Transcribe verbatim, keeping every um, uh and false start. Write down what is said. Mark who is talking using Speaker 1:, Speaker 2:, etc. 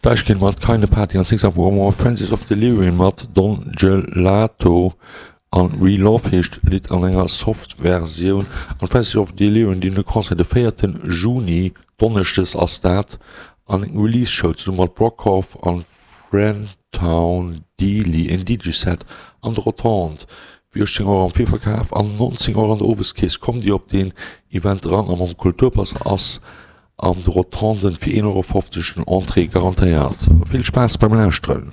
Speaker 1: Deichkind mat Keine Party an Six Up One More, Francis of Delirium mat Don Gelato an We Love heescht d'Lidd an enger Soft Versioun. An Francis of Delirium dinn e Concert de véierten Juni, Donneschdes ass dat, an eng Release Show zesumme mat Brockhauf an Frentown Dealey, en D J Set an de Rotonde fir uechtzéng Auer am Virverkaf an nonzéng Auer an der Oweskeess. Kommt Dir op deen Event eran a mam Kulturpass ass an de Rotonden fir een Euro fofzeg den Entrée garantéiert. Vill Spaass beim Lauschteren!